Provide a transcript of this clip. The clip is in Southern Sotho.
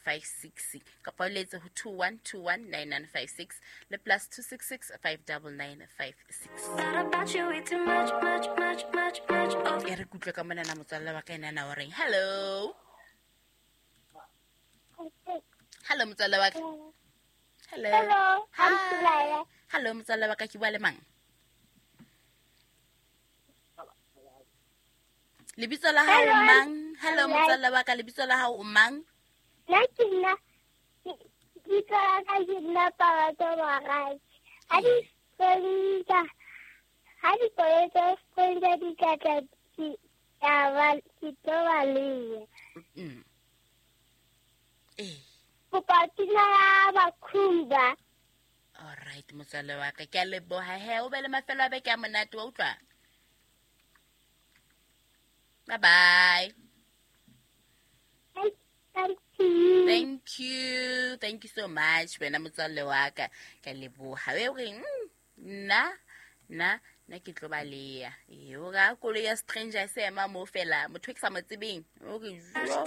56 kapa o letse ho 2121 9956 le plus 266 599 56. E re kutlwe ka monana motswalle wa ka enana o reng. Hello, hello motswalle wa ka. Hello. Hello, I'm Hi. Sulaya. Hello motswalle wa ka, ke bua le mang? Lebitso la hao Hello, I'm mang? Hello Sulaya. motswalle wa ka, lebitso la hao o mang? Nna ke nna, lebitso la ka ke nna Pabatso Moradi. Ha di stranger, ha dikoloi tsa stranger di ka tla ke tla ba, ke tlo baleha. Ee. Kopa pina ya Bakhumba. Alright motswalle wa ka, ke a leboha he, o be le mafelo a beke a monate, wa utlwa? Bye bye. Thank you. Thank you, thank you so much wena motswalle wa ka, ke a leboha. E reng nna nna nna ke tlo baleha. Ee, o ra koloi ya stranger e se ema moo fela, motho e ke sa mo tsebeng o re jo.